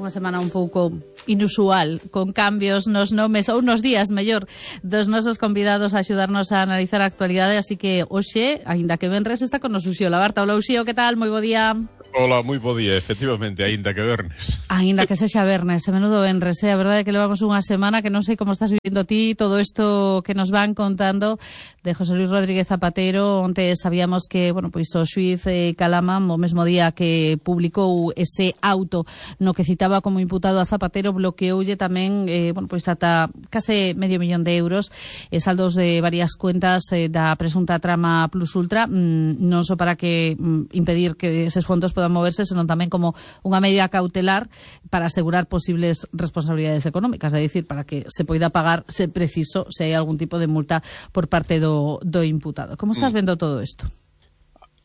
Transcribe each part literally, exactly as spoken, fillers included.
unha semana un pouco inusual, con cambios nos nomes, ou nos días, mellor, dos nosos convidados a axudarnos a analizar a actualidade, así que hoxe, aínda que venres, está con nos Uxío Labarta. Hola Uxío, que tal? Moi bo día. Hola, moi bo día, efectivamente, aínda que vernes. Aínda que sexa vernes, e menudo venres, eh? A verdade é que levamos unha semana que non sei como estás vivindo ti todo isto que nos van contando de José Luis Rodríguez Zapatero. Onte sabíamos que, bueno, pois o xuíz eh, Calama, o mesmo día que publicou ese auto no que citaba como imputado a Zapatero, bloqueoulle tamén, eh, bueno, pois ata case medio millón de euros e saldos de varias cuentas eh, da presunta trama Plus Ultra, mm, non só para que mm, impedir que eses fondos podan moverse, senón tamén como unha medida cautelar para asegurar posibles responsabilidades económicas, é dicir, para que se poida pagar, se preciso, se hai algún tipo de multa por parte do, do imputado. Como estás vendo todo isto?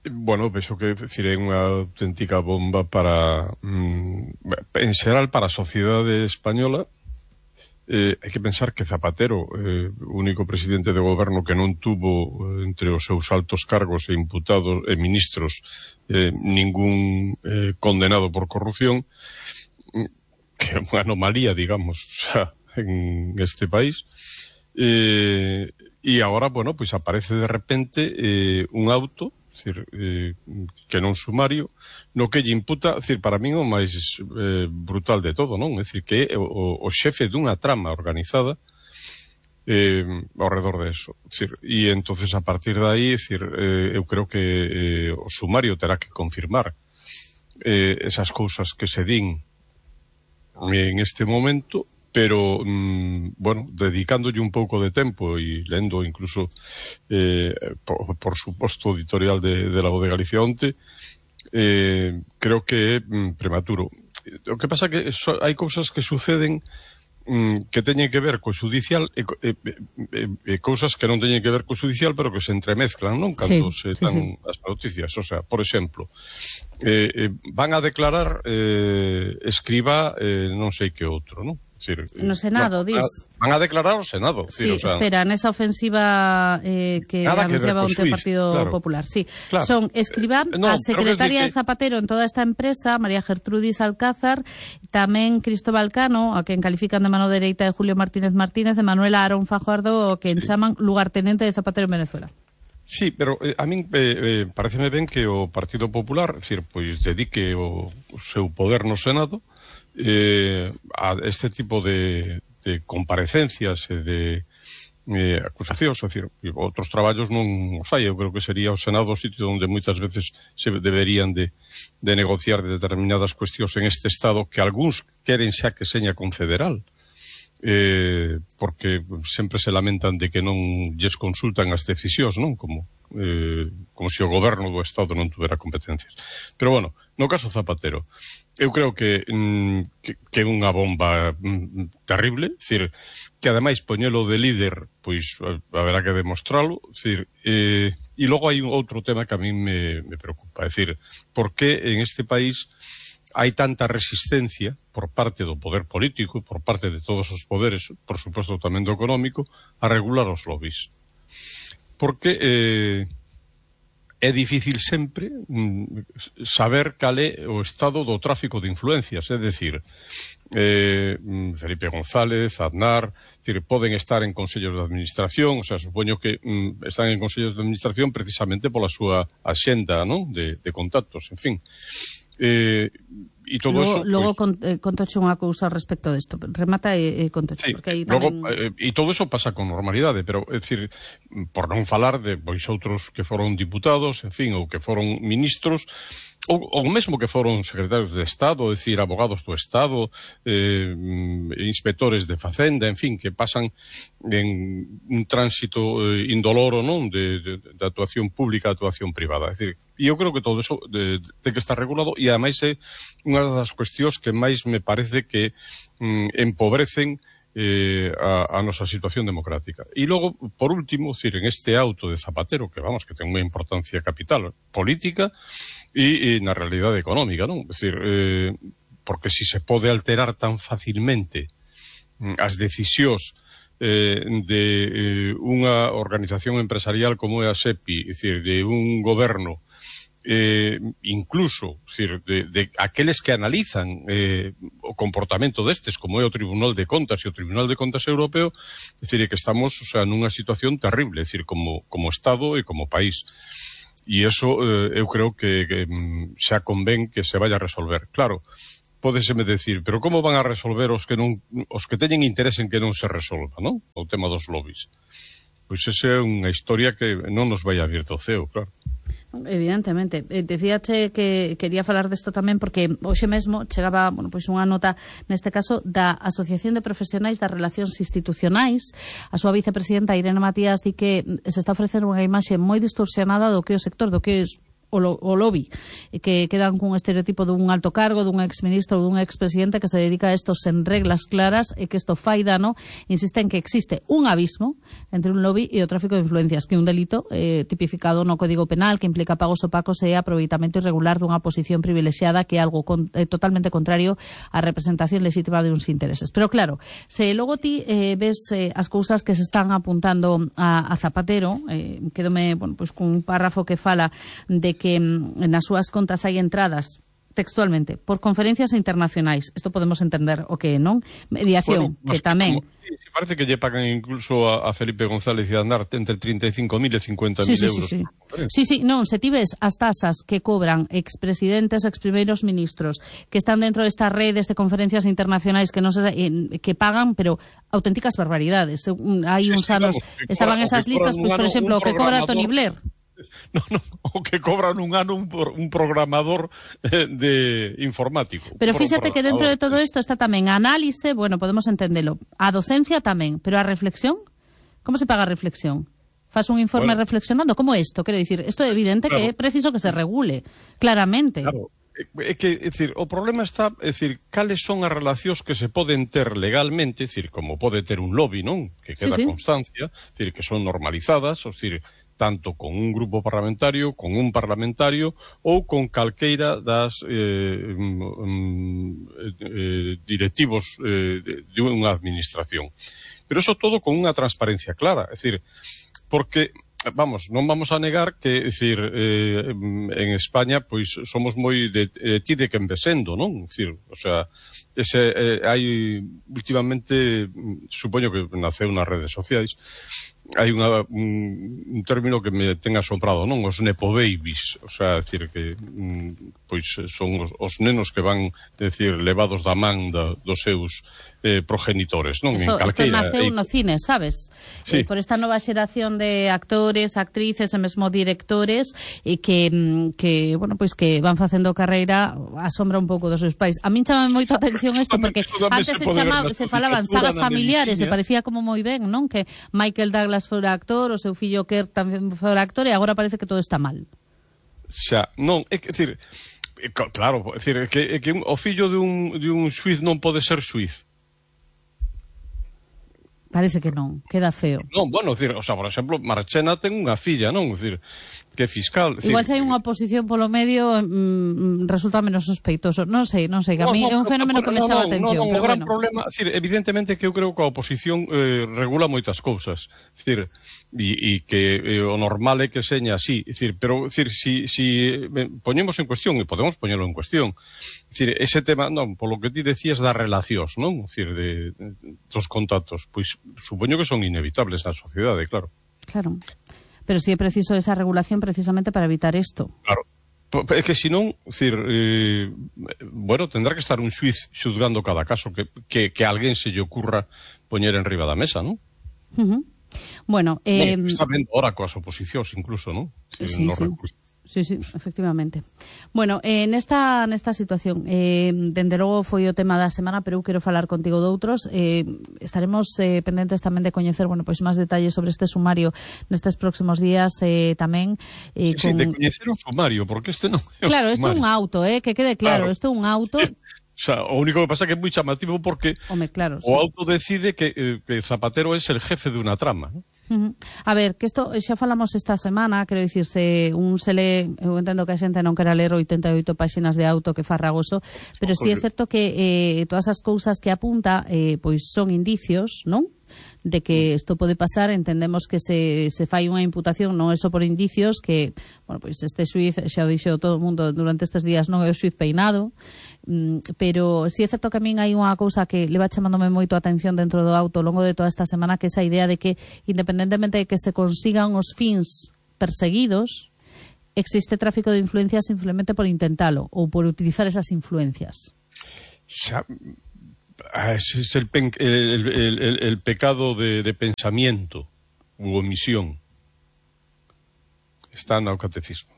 Bueno, penso que decir, é unha auténtica bomba para, mm, en xeral, para a sociedade española. Eh, hai que pensar que Zapatero, eh, único presidente de goberno que non tuvo eh, entre os seus altos cargos e imputados e ministros eh, ningún eh, condenado por corrupción, que é unha anomalía, digamos, o sea, en este país. Eh, e agora, bueno, pois aparece de repente eh, un auto, decir, eh, que non sumario, no que lle imputa, decir, para min o máis eh, brutal de todo, non? É dicir, que é o, o xefe dunha trama organizada eh, ao redor de eso. Decir, e entonces a partir de aí, decir, eh, eu creo que eh, o sumario terá que confirmar eh, esas cousas que se din en este momento, pero, mmm, bueno, dedicándolle un pouco de tempo e lendo incluso eh, por, por suposto editorial de, de la Voz de Galicia onte, eh, creo que é mm, prematuro. O que pasa que so, hai cousas que suceden mm, que teñen que ver co judicial e, e, e, e cousas que non teñen que ver co judicial, pero que se entremezclan, non? Cando sí, se sí, dan sí. as noticias. O sea, por exemplo, eh, eh, van a declarar eh, escriba eh, non sei que outro, non? Decir, no Senado, no, dis. Van a declarar o Senado. Sí, decir, o sea, espera, nesa ofensiva eh, que anunciaba onte o Partido claro. Popular. Sí, claro. Son escribá, eh, no, a secretaria que... de Zapatero en toda esta empresa, María Gertrudis Alcázar, tamén Cristóbal Cano, a quen califican de mano dereita de Julio Martínez Martínez, de Manuela Aarón Fajardo, que sí. chaman lugartenente de Zapatero en Venezuela. Sí, pero eh, a min eh, eh, pareceme ben que o Partido Popular, decir, pois dedique o, o seu poder no Senado eh, a este tipo de, de comparecencias e de eh, acusacións, é dicir, outros traballos non os hai. Eu creo que sería o Senado o sitio onde moitas veces se deberían de, de negociar de determinadas cuestións en este Estado que algúns queren xa que seña confederal. Eh, porque sempre se lamentan de que non lles consultan as decisións, non? Como, eh, como se o goberno do Estado non tuvera competencias. Pero, bueno, no caso Zapatero, eu creo que mm, que, que é unha bomba mm, terrible, decir, que ademais poñelo de líder, pois haberá que demostralo, decir, eh, e logo hai un outro tema que a mí me, me preocupa, é dicir, por que en este país hai tanta resistencia por parte do poder político e por parte de todos os poderes, por suposto tamén do económico, a regular os lobbies. Porque eh, é difícil sempre mm, saber cal é o estado do tráfico de influencias, é dicir, eh, Felipe González, Aznar, decir, poden estar en consellos de administración, o sea, supoño que mm, están en consellos de administración precisamente pola súa axenda, non? De, de contactos, en fin. Eh, e todo logo, eso logo pues, con, eh, contoche unha cousa respecto desto, remata e, e contoche, sí, porque aí tamén... logo, eh, e todo eso pasa con normalidade, pero é dicir, por non falar de pois outros que foron diputados, en fin, ou que foron ministros, ou, ou mesmo que foron secretarios de Estado, é dicir, abogados do Estado, eh, inspectores de Facenda, en fin, que pasan en un tránsito eh, indoloro, non, de, de, de actuación pública a actuación privada, é dicir, e eu creo que todo eso de, de que está regulado, e ademais é unha das cuestións que máis me parece que mm, empobrecen eh, a, a nosa situación democrática. E logo, por último, decir, en este auto de Zapatero, que vamos, que ten unha importancia capital política e, e na realidade económica, non? É dicir, eh, porque si se pode alterar tan facilmente mm, as decisións eh, de eh, unha organización empresarial como é a SEPI, é dicir, de un goberno eh, incluso, decir, de, de aqueles que analizan eh, o comportamento destes, como é o Tribunal de Contas e o Tribunal de Contas Europeo, decir, que estamos, o sea, nunha situación terrible, decir, como, como Estado e como país. E iso eh, eu creo que, que xa convén que se vaya a resolver. Claro, pódeseme decir, pero como van a resolver os que non, os que teñen interés en que non se resolva, non? O tema dos lobbies. Pois esa é unha historia que non nos vai a vir do ceo, claro. Evidentemente. Eh, decíache que quería falar desto tamén porque hoxe mesmo chegaba, bueno, pois unha nota neste caso da Asociación de Profesionais das Relacións Institucionais. A súa vicepresidenta Irene Matías di que se está ofrecendo unha imaxe moi distorsionada do que é o sector, do que é o, lo, o lobby, que quedan cun estereotipo dun alto cargo, dun exministro ou dun expresidente que se dedica a isto sen reglas claras e que isto fai dano. Insiste en que existe un abismo entre un lobby e o tráfico de influencias, que é un delito eh, tipificado no Código Penal que implica pagos opacos e aproveitamento irregular dunha posición privilexiada, que é algo con, eh, totalmente contrario á representación legítima de uns intereses. Pero claro, se logo ti eh, ves eh, as cousas que se están apuntando a, a Zapatero, eh, quedome, bueno, pues, cun párrafo que fala de que nas súas contas hai entradas textualmente por conferencias internacionais. Isto podemos entender o que, non? Mediación, bueno, que tamén... Como, sí, parece que lle pagan incluso a, a Felipe González e a Andar entre treinta e cinco mil e cincuenta mil sí, sí, euros. Sí, sí. sí, sí, non, se ti ves as tasas que cobran expresidentes, exprimeiros ministros que están dentro destas redes de conferencias internacionais que non se, eh, que pagan, pero auténticas barbaridades. Hai sí, uns sí, anos vamos, estaban cobra, esas listas, pois, pues, por exemplo, o que cobra Tony Blair. No, no, o que cobran un ano un, un programador eh, de informático. Pero fíxate que dentro de todo isto está tamén a análise, bueno, podemos entendelo, a docencia tamén, pero a reflexión, como se paga a reflexión? Faz un informe bueno, reflexionando, como isto? Quero dicir, isto é evidente claro, que é preciso que se regule, claramente. Claro, é que, é dicir, o problema está, é dicir, cales son as relacións que se poden ter legalmente, é dicir, como pode ter un lobby, non? Que queda sí, sí. constancia, é dicir, que son normalizadas, é dicir, tanto con un grupo parlamentario, con un parlamentario ou con calqueira das eh, eh, directivos eh, de unha administración. Pero eso todo con unha transparencia clara, é dicir, porque vamos, non vamos a negar que, é dicir, eh, en España pois somos moi de, de ti de quen vesendo, non? É dicir, o sea, ese eh, hai últimamente, supoño que naceu nas redes sociais, hai unha, un, un término que me ten asombrado, non? Os nepo babies, o sea, decir que mm, pois son os, os nenos que van, decir, levados da man da, dos seus eh, progenitores, non? Isto, en calqueira, isto naceu no cine, sabes? Sí. Eh, por esta nova xeración de actores, actrices e mesmo directores e que, que, bueno, pois que van facendo carreira a sombra un pouco dos seus pais. A min chama moito a atención isto porque antes se, chamaba, se falaban sagas familiares e parecía como moi ben, non? Que Michael Douglas fora actor, o seu fillo Kirk tamén fora actor e agora parece que todo está mal. Xa, non, é que, decir, claro, é dicir, que, que un, o fillo de un, de un xuiz non pode ser xuiz. Parece que non, queda feo. Non, bueno, decir, o sea, por exemplo, Marchena ten unha filla, non? Decir, que é fiscal. Igual decir, se hai unha oposición polo medio mm, resulta menos sospeitoso. Non sei, non sei, que a mí no, no, é un fenómeno que me chama a atención. Non, non, pero o gran bueno. problema, decir, evidentemente que eu creo que a oposición eh, regula moitas cousas. Decir, e, e que eh, o normal é que seña así, decir, pero decir, si, si eh, poñemos en cuestión, e podemos poñelo en cuestión, decir, ese tema, non, polo que ti decías das relacións, non? Decir, de, de, dos contactos, pois supoño que son inevitables na sociedade, claro. Claro. Pero si sí é preciso esa regulación precisamente para evitar isto. Claro. É que senón, decir, eh, bueno, tendrá que estar un xuiz xudgando cada caso que, que, que a alguén se lle ocurra poñer en riba da mesa, non? Uh-huh. Bueno, eh... bueno, está vendo ahora coas oposicións incluso, non? Si, sí, no sí. recursos. Sí, sí, efectivamente. Bueno, eh, nesta, nesta situación, eh, dende logo foi o tema da semana, pero eu quero falar contigo doutros. Eh, estaremos eh, pendentes tamén de coñecer, bueno, pois máis detalles sobre este sumario nestes próximos días eh, tamén. Eh, sí, con... de coñecer o sumario, porque este non é o Claro, este é un auto, eh, que quede claro, claro. este é un auto... O sea, o único que pasa que é moi chamativo porque Home, claro, o sí. auto decide que, eh, que Zapatero é el jefe de unha trama, ¿no? Uh-huh. A ver, que isto xa falamos esta semana, quero dicirse, un se le, eu entendo que a xente non quera ler oitenta e oito páxinas de auto, que farragoso, pero si sí é certo que eh, todas as cousas que apunta eh, pois son indicios, non? de que isto pode pasar, entendemos que se, se fai unha imputación, non é só por indicios, que, bueno, pois este xuiz, xa o dixo todo o mundo durante estes días, non é o xuiz peinado, mm, pero si é certo que a min hai unha cousa que leva chamándome moito a atención dentro do auto ao longo de toda esta semana, que é esa idea de que, independentemente de que se consigan os fins perseguidos, existe tráfico de influencias simplemente por intentalo ou por utilizar esas influencias. Xa, ese es el, pen, el, el, el, el pecado de, de pensamiento u omisión. Está no catecismo.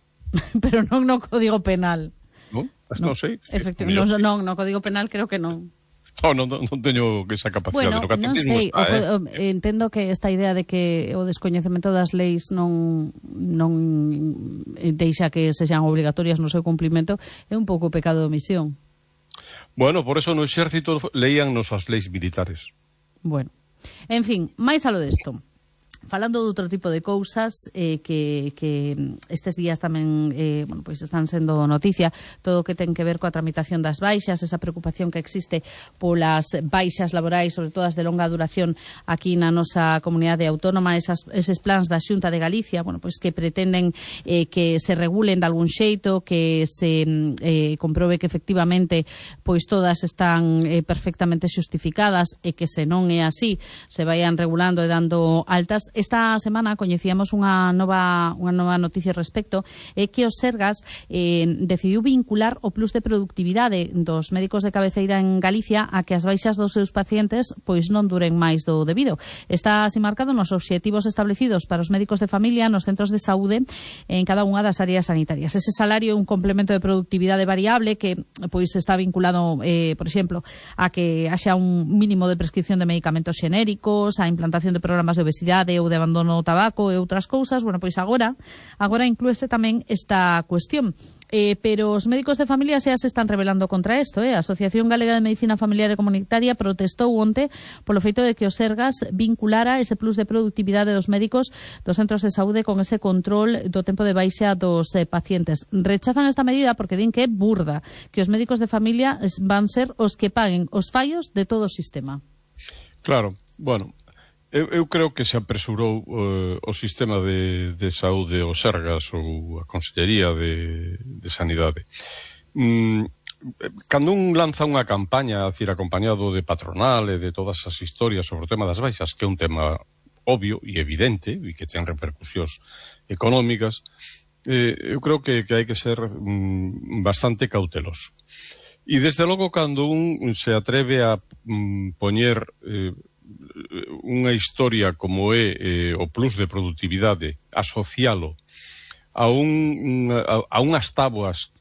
Pero non no Código Penal. Non? No, Non sei. Efectivamente, non, non, no Código Penal creo que non. No, non, non teño esa capacidade. Bueno, no catecismo non sei, está, o, eh? o, entendo que esta idea de que o descoñecemento das leis non non deixa que sexan obrigatorias no seu cumplimento é un pouco pecado de omisión. Bueno, por eso no exército leíannos as leis militares. Bueno, en fin, máis a lo desto. Falando de outro tipo de cousas eh, que, que estes días tamén eh, bueno, pois están sendo noticia, todo o que ten que ver coa tramitación das baixas, esa preocupación que existe polas baixas laborais, sobre todo as de longa duración aquí na nosa comunidade autónoma, esas, eses plans da Xunta de Galicia, bueno, pois que pretenden eh, que se regulen de algún xeito, que se eh, comprobe que efectivamente pois todas están eh, perfectamente xustificadas e que se non é así, se vayan regulando e dando altas. Esta semana coñecíamos unha nova unha nova noticia respecto, é que o Sergas eh, decidiu vincular o plus de productividade dos médicos de cabeceira en Galicia a que as baixas dos seus pacientes pois non duren máis do debido. Está así marcado nos obxectivos establecidos para os médicos de familia nos centros de saúde en cada unha das áreas sanitarias. Ese salario é un complemento de productividade variable que pois está vinculado, eh, por exemplo, a que haxa un mínimo de prescripción de medicamentos xenéricos, a implantación de programas de obesidade ou de abandono do tabaco e outras cousas. Bueno, pois agora agora inclúese tamén esta cuestión. Eh, pero os médicos de familia xa se están rebelando contra isto. Eh? A Asociación Galega de Medicina Familiar e Comunitaria protestou onte polo feito de que o Sergas vinculara ese plus de productividade dos médicos dos centros de saúde con ese control do tempo de baixa dos eh, pacientes. Rechazan esta medida porque din que é burda, que os médicos de familia van ser os que paguen os fallos de todo o sistema. Claro, bueno, Eu, eu creo que se apresurou uh, o sistema de, de saúde, o Sergas ou a Consellería de, de Sanidade. Mm, cando un lanza unha campaña, a decir, acompañado de patronal e de todas as historias sobre o tema das baixas, que é un tema obvio e evidente e que ten repercusións económicas, eh, eu creo que, que hai que ser mm, bastante cauteloso. E desde logo, cando un se atreve a mm, poñer eh, unha historia como é eh, o plus de productividade, asocialo a, un, a, a unhas táboas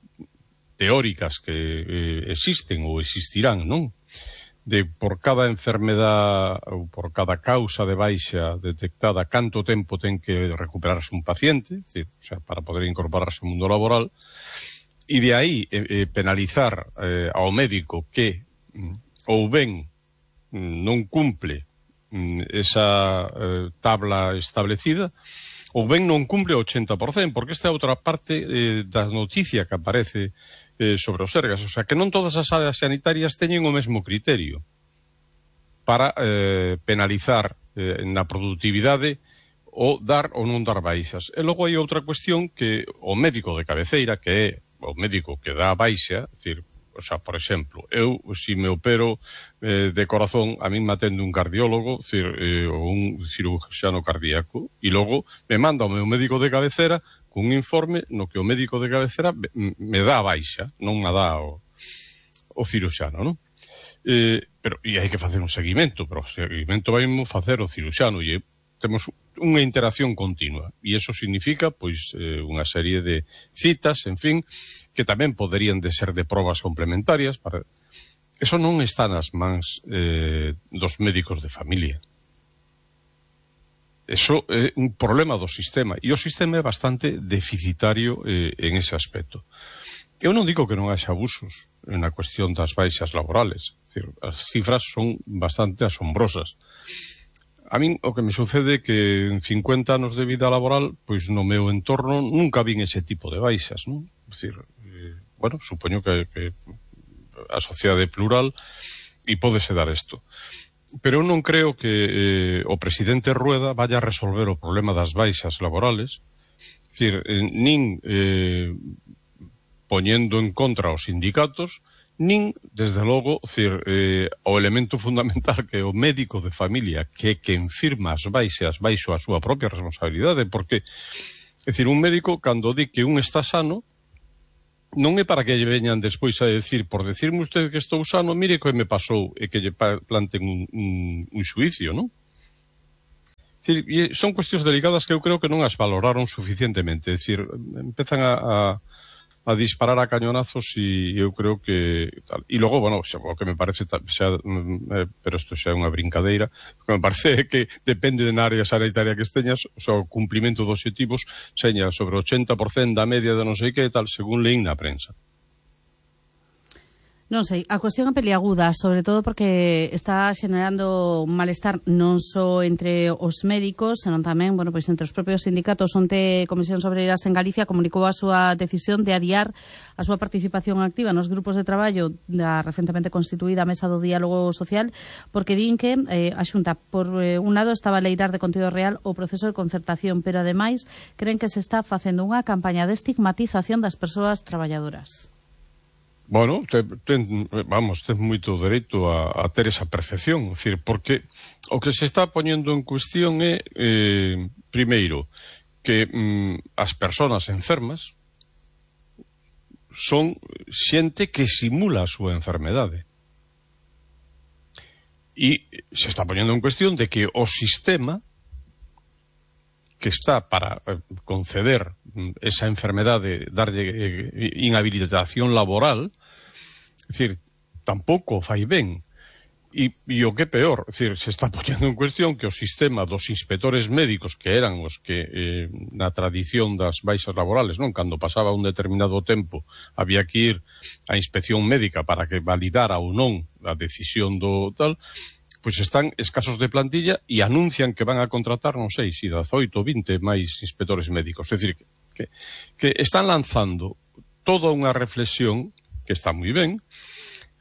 teóricas que eh, existen ou existirán, non? De por cada enfermedad ou por cada causa de baixa detectada, canto tempo ten que recuperarse un paciente, é dicir, o sea, para poder incorporarse ao mundo laboral, e de aí eh, penalizar eh, ao médico que mm, ou ben non cumple esa eh, tabla establecida ou ben non cumple o ochenta por cento, porque esta é outra parte eh, da noticia que aparece eh, sobre os Sergas, o sea, que non todas as áreas sanitarias teñen o mesmo criterio para eh, penalizar eh, na productividade ou dar ou non dar baixas. E logo hai outra cuestión que o médico de cabeceira, que é o médico que dá baixa, é dicir, o sea, por exemplo, eu, se me opero eh, de corazón, a min me atende un cardiólogo, cir, eh, ou un cirurgiano cardíaco, e logo me manda o meu médico de cabecera cun informe no que o médico de cabecera me, me dá a baixa, non me dá o, o cirurgiano, non? Eh, pero, e hai que facer un seguimento, pero o seguimento vai facer o cirurgiano, e temos unha interacción continua, e iso significa, pois, eh, unha serie de citas, en fin, que tamén poderían de ser de probas complementarias. Para... Eso non está nas mans eh, dos médicos de familia. Eso é un problema do sistema, e o sistema é bastante deficitario eh, en ese aspecto. Eu non digo que non haxa abusos na cuestión das baixas laborales. É dicir, as cifras son bastante asombrosas. A min o que me sucede é que en cincuenta anos de vida laboral, pois no meu entorno nunca vin ese tipo de baixas, non? É dicir, eh, bueno, supoño que, que a sociedade é plural e pódese dar isto. pero eu non creo que eh, o presidente Rueda vaya a resolver o problema das baixas laborales, é dicir, eh, nin eh, poñendo en contra os sindicatos, nin, desde logo, dicir, eh, o elemento fundamental que é o médico de familia, que é quen firma as baixas baixo a súa propia responsabilidade, porque, é dicir, un médico, cando di que un está sano, non é para que lle veñan despois a decir, por decirme usted que estou sano, mire que me pasou, e que lle planten un, un, un xuicio, non? É dicir, son cuestións delicadas que eu creo que non as valoraron suficientemente, é dicir, empezan a, a, a disparar a cañonazos e eu creo que tal. E logo, bueno, xa, o que me parece xa, eh, pero isto xa é unha brincadeira, o que me parece é que depende de na área sanitaria que esteñas, o sea, o cumplimento dos obxectivos seña sobre o ochenta por cento da media de non sei que tal, según leín na prensa. Non sei, a cuestión é peliaguda, sobre todo porque está xenerando un malestar non só entre os médicos, senón tamén, bueno, pois entre os propios sindicatos. Onte Comisións Obreiras en Galicia comunicou a súa decisión de adiar a súa participación activa nos grupos de traballo da recentemente constituída Mesa do Diálogo Social, porque din que eh, a Xunta, por eh, un lado, estaba a leirar de contido real o proceso de concertación, pero ademais creen que se está facendo unha campaña de estigmatización das persoas traballadoras. Bueno, ten, ten, vamos, ten moito dereito a, a ter esa percepción, é dicir, porque o que se está poñendo en cuestión é, eh, primeiro, que mm, as persoas enfermas son xente que simula a súa enfermedade. E se está poñendo en cuestión de que o sistema que está para eh, conceder esa enfermedade, darlle eh, inhabilitación laboral, é dicir, tampouco fai ben. E, e o que é peor, é dicir, se está poñendo en cuestión que o sistema dos inspectores médicos, que eran os que eh, na tradición das baixas laborales, non, cando pasaba un determinado tempo, había que ir á inspección médica para que validara ou non a decisión do tal, pois están escasos de plantilla e anuncian que van a contratar, non sei, si dezaoito, vinte máis inspectores médicos. É dicir, que, que están lanzando toda unha reflexión que está moi ben,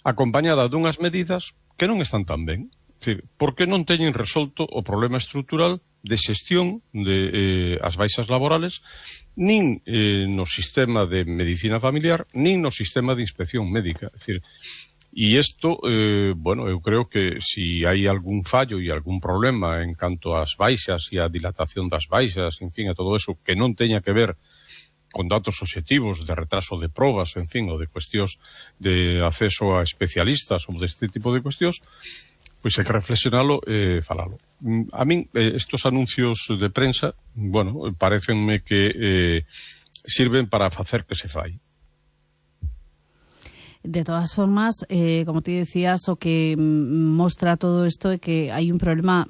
acompañada dunhas medidas que non están tan ben. É dicir, porque non teñen resolto o problema estrutural de xestión de eh, as baixas laborales, nin eh, no sistema de medicina familiar, nin no sistema de inspección médica. É dicir, e isto, eh, bueno, eu creo que si hai algún fallo e algún problema en canto ás baixas e a dilatación das baixas, en fin, a todo eso que non teña que ver con datos obxectivos de retraso de probas, en fin, ou de cuestións de acceso a especialistas ou deste tipo de cuestións, pois hai que reflexionalo e eh, falalo. A min, eh, estos anuncios de prensa, bueno, parecenme que eh, sirven para facer que se fai. De todas formas, eh, como te decías, o que mostra todo isto é que hai un problema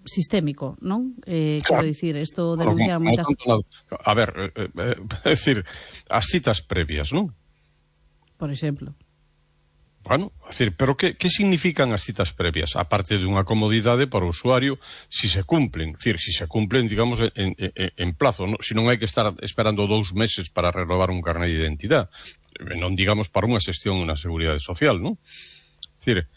sistémico, non? Eh, claro. Quero dicir, isto denuncia no, moitas... No, a ver, eh, eh, é dicir, as citas previas, non? Por exemplo. Bueno, é dicir, pero que, que significan as citas previas? Aparte de unha comodidade para o usuario, si se cumplen, é dicir, si se cumplen, digamos, en, en, en plazo, non? Si non hai que estar esperando dous meses para renovar un carné de identidade, non digamos para unha xestión na Seguridade Social, non? É dicir,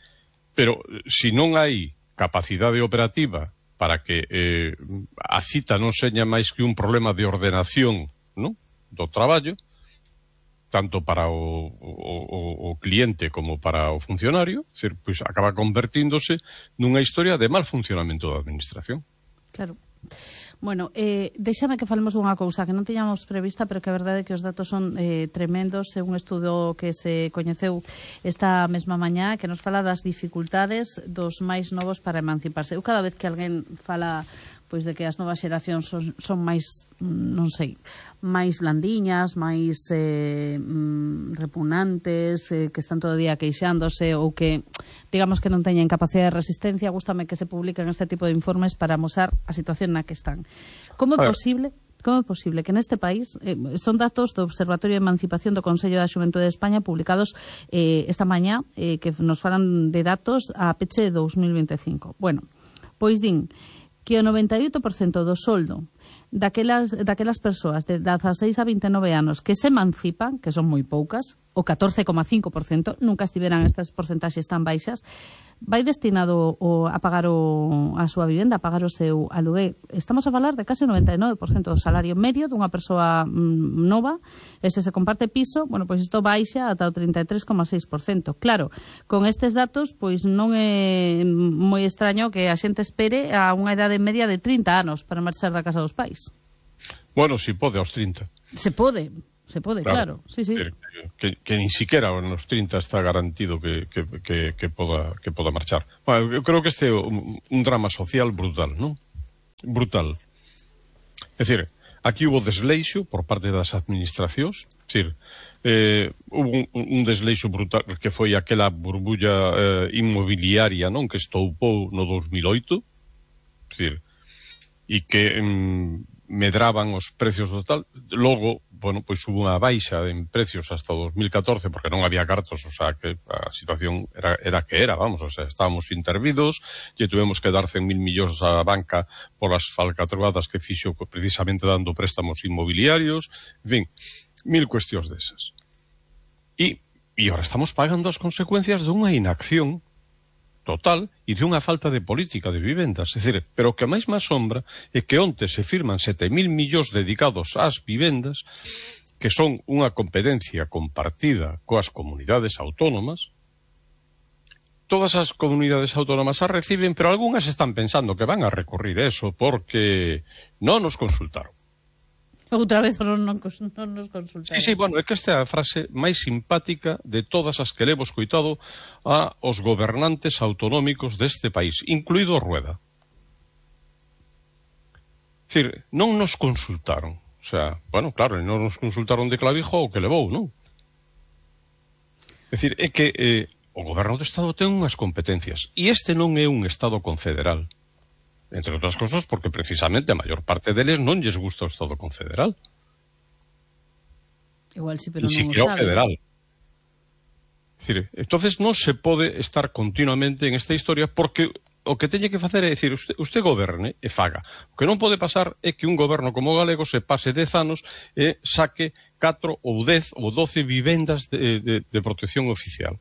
pero si non hai capacidade operativa para que eh, a cita non seña máis que un problema de ordenación, non, do traballo, tanto para o, o, o cliente como para o funcionario, é dicir, pois acaba convertíndose nunha historia de mal funcionamento da administración. Claro. Bueno, eh, deixame que falemos dunha cousa que non tiñamos prevista, pero que a verdade é que os datos son eh, tremendos. É un estudo que se coñeceu esta mesma mañá que nos fala das dificultades dos máis novos para emanciparse. Eu cada vez que alguén fala pois de que as novas xeracións son, son máis, non sei, máis blandiñas, máis eh, repugnantes, eh, que están todo o día queixándose ou que, digamos, que non teñen capacidade de resistencia, gústame que se publiquen este tipo de informes para mostrar a situación na que están. Como é posible... Como é posible que neste país, eh, son datos do Observatorio de Emancipación do Consello da Xuventude de España publicados eh, esta mañá, eh, que nos falan de datos a peche de dous mil vinte e cinco. Bueno, pois din que o noventa e oito por cento do soldo daquelas, daquelas persoas de dezaseis a vinte e nove anos que se emancipan, que son moi poucas, o catorce coma cinco por cento, nunca estiveran estas porcentaxes tan baixas, vai destinado o, a pagar o, a súa vivenda, a pagar o seu aluguer. Estamos a falar de case o noventa e nove por cento do salario medio dunha persoa mm, nova, e se se comparte piso, bueno, pois isto baixa ata o trinta e tres coma seis por cento. Claro, con estes datos, pois non é moi extraño que a xente espere a unha idade media de trinta anos para marchar da casa dos pais. Bueno, si pode aos trinta. Se pode. Se pode, claro, claro. Sí, sí. Que, que, que ni siquiera nos trinta está garantido que, que, que, que, poda, que poda marchar. Bueno, eu creo que este é un, un drama social brutal, non? Brutal. É dicir, aquí hubo desleixo por parte das administracións, é dicir, eh, hubo un, un desleixo brutal que foi aquela burbulla eh, inmobiliaria, non? Que estoupou no dos mil oito, é dicir, e que mm, medraban os precios do tal. Logo, bueno, pois hubo unha baixa en precios hasta o dos mil catorce porque non había cartos, o sea, que a situación era, era que era, vamos, o sea, estábamos intervidos, lle tuvemos que dar cen mil millóns á banca por as falcatruadas que fixo precisamente dando préstamos inmobiliarios, en fin, mil cuestións desas. E, e ahora estamos pagando as consecuencias dunha inacción total e de unha falta de política de vivendas. É dicir, pero o que máis me asombra é que onte se firman sete mil millóns dedicados ás vivendas, que son unha competencia compartida coas comunidades autónomas. Todas as comunidades autónomas as reciben, pero algunhas están pensando que van a recurrir eso porque non nos consultaron. Outra vez non, non, non nos consultaron. Sí, sí, bueno, é que esta é a frase máis simpática de todas as que levo escoitado a os gobernantes autonómicos deste país, incluído Rueda. É dicir, non nos consultaron. O sea, bueno, claro, non nos consultaron de clavijo o que levou, non? É dicir, é que eh, o goberno do Estado ten unhas competencias e este non é un Estado confederal. Entre outras cosas, porque precisamente a maior parte deles non lles gusta o Estado confederal. Igual sí, pero non o sabe. Federal. É dicir, entonces non se pode estar continuamente en esta historia porque o que teñe que facer é dicir, usted, usted goberne e faga. O que non pode pasar é que un goberno como o galego se pase dez anos e saque catro ou dez ou doce vivendas de, de, de protección oficial.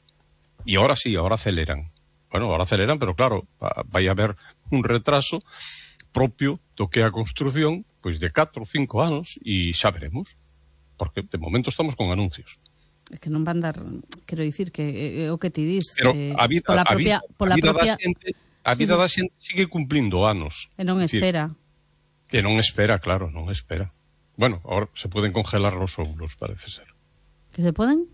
E ahora sí, ahora aceleran. Bueno, ahora aceleran, pero claro, vai haber un retraso propio do que a construción pois de catro ou cinco anos e xa veremos, porque de momento estamos con anuncios. É que non van dar, quero dicir que é o que ti dis, pero eh, a vida, pola a propia, vida, pola a vida propia... da xente, a vida sí, da xente sigue cumplindo anos. E non espera. E non espera, claro, non espera. Bueno, ahora se pueden congelar los óvulos, parece ser. ¿Que se pueden?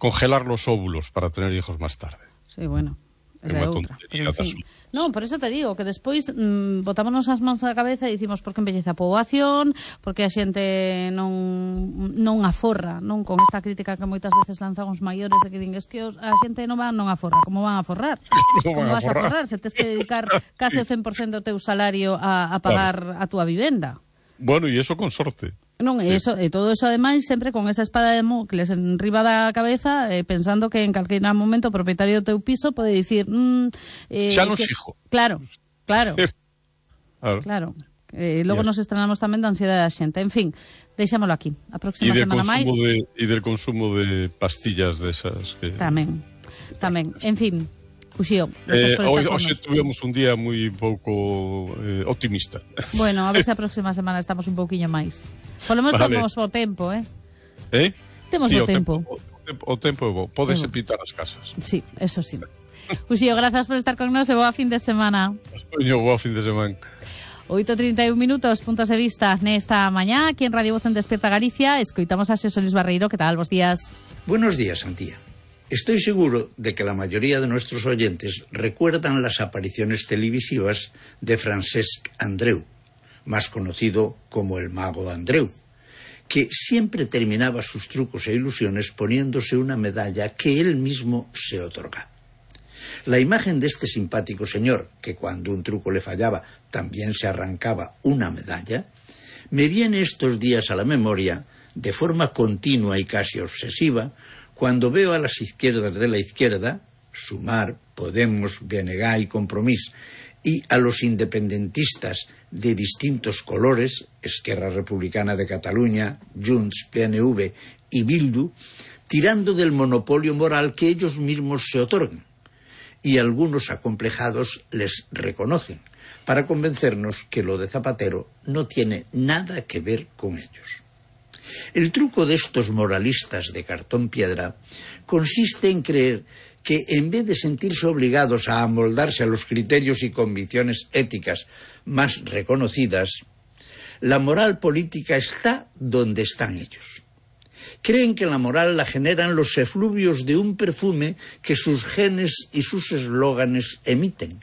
Congelar los óvulos para tener hijos más tarde. Sí, bueno. Esa é outra. Pero, en fin. Non, por eso te digo que despois mmm, botámonos as mans na cabeza e dicimos por que embellece a poboación, porque a xente non non aforra, non con esta crítica que moitas veces lanzan os maiores e que din es que os, a xente non van non aforra, como van a forrar? No como van vas a forrar? Se tes que dedicar case o cen por cento do teu salario a, a pagar claro. a túa vivenda. Bueno, e iso con sorte. Non, e, sí. eso, e todo eso ademais sempre con esa espada de Damocles enriba da cabeza, eh, pensando que en calquera momento o propietario do teu piso pode dicir mm, eh, xa nos que... hijo. Claro, claro. claro. Claro. Eh, logo yeah. nos estrenamos tamén da ansiedade da xente. En fin, deixámoslo aquí. A próxima semana máis. De, e del consumo de pastillas desas que... Tamén, tamén. En fin, Uxío, eh, hoy, hoxe tuvemos un día moi pouco eh, optimista. Bueno, a ver se a próxima semana estamos un pouquiño máis. Por lo menos vale. Temos o tempo, eh? Eh? Temos sí, o, o tempo. tempo. O tempo é bo. Pódese pintar as casas. Sí, eso sí. Uxío, grazas por estar con nós e boa fin de semana. Yo, boa fin de semana. oito e trinta e un minutos, puntos de vista nesta mañá, aquí en Radio Voz en Despierta Galicia. Escoitamos a Xosé Luis Barreiro. Que tal? Bos días. Buenos días, Antía. Estoy seguro de que la mayoría de nuestros oyentes recuerdan las apariciones televisivas de Francesc Andreu, más conocido como el Mago Andreu, que siempre terminaba sus trucos e ilusiones poniéndose una medalla que él mismo se otorga. La imagen de este simpático señor, que cuando un truco le fallaba también se arrancaba una medalla, me viene estos días a la memoria, de forma continua y casi obsesiva, cuando veo a las izquierdas de la izquierda, Sumar, Podemos, B N G y Compromís, y a los independentistas de distintos colores, Esquerra Republicana de Cataluña, Junts, P N V y Bildu, tirando del monopolio moral que ellos mismos se otorgan. y algunos acomplejados les reconocen, para convencernos que lo de Zapatero no tiene nada que ver con ellos. El truco de estos moralistas de cartón piedra consiste en creer que en vez de sentirse obligados a amoldarse a los criterios y convicciones éticas más reconocidas, la moral política está donde están ellos. Creen que la moral la generan los efluvios de un perfume que sus genes y sus eslóganes emiten,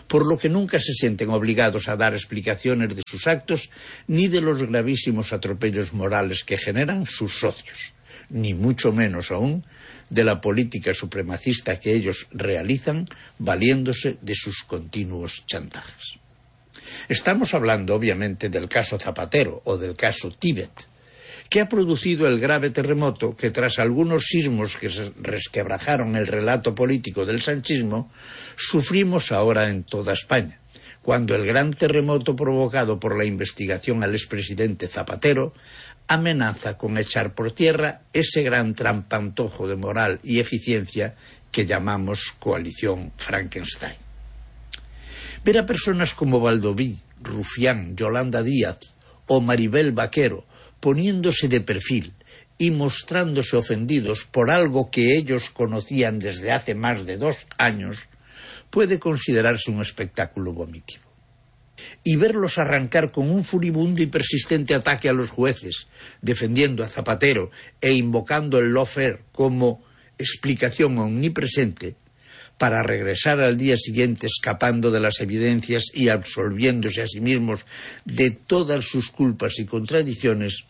por lo que nunca se sienten obligados a dar explicaciones de sus actos ni de los gravísimos atropellos morales que generan sus socios, ni mucho menos aún de la política supremacista que ellos realizan valiéndose de sus continuos chantajes. Estamos hablando, obviamente, del caso Zapatero o del caso Tíbet, que ha producido el grave terremoto que, tras algunos sismos que resquebrajaron el relato político del sanchismo, sufrimos ahora en toda España, cuando el gran terremoto provocado por la investigación al expresidente Zapatero amenaza con echar por tierra ese gran trampantojo de moral y eficiencia que llamamos coalición Frankenstein. Ver a personas como Baldoví, Rufián, Yolanda Díaz o Maribel Vaquero poniéndose de perfil y mostrándose ofendidos por algo que ellos conocían desde hace más de dos años puede considerarse un espectáculo vomitivo. Y verlos arrancar con un furibundo y persistente ataque a los jueces, defendiendo a Zapatero e invocando el lawfare como explicación omnipresente, para regresar al día siguiente escapando de las evidencias y absolviéndose a sí mismos de todas sus culpas y contradicciones,